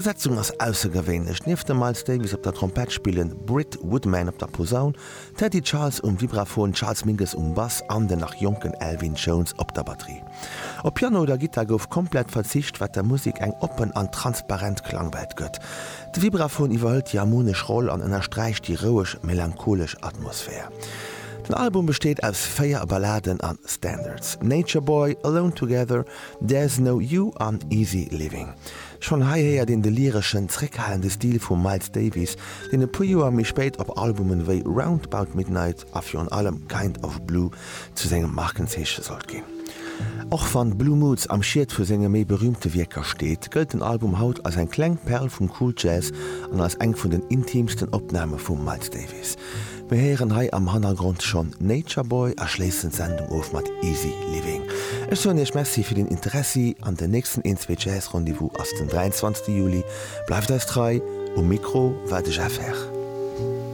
D'Besetzung ass aussergewéinlech, Nieft dem Miles Davis op der Trompett spillen Britt Woodman op der Posaun, Teddy Charles um Vibraphon, Charles Mingus um Bass an den nach jonken Elvin Jones op der Batterie. Op Piano oder Gittar gouf komplett verzicht, wat der Musek eng oppen an transparent Klangwelt gëtt. De Vibraphon iwwerhëlt déi harmonesch Roll an ënnersträicht déi roueg, melancholesch Atmosphär. Den Album besteet aus 4 Balladen an Standards, Nature Boy, Alone Together, There's No You an Easy Living. Schonn hei héiert een de lyreschen, zréckhalende Stil vum Miles Davis, deen e puer Joer méi spéit op Albumen wéi Round 'Bout Midnight a virun allem Kind of Blue zu sengem Markenzeeche sollt ginn. Och wann Blue Moods am Schiet vu senge méi berüümte Wierker steet, gëllt den Album haut als eng kleng Perl vum Cool Jazz an als eng vun den intiimsten Opname vum Miles Davis. Mir héieren hei am Hannergrond schonn Nature Boy a schléissen d'Sendung of mat Easy Living. Ech soen Iech Merci fir den Interessi an den nächsten Een Zwee Jazz Rendez-vous ass den 23 Juli. Bleift eis trei, um Mikro war de Jeff Herr.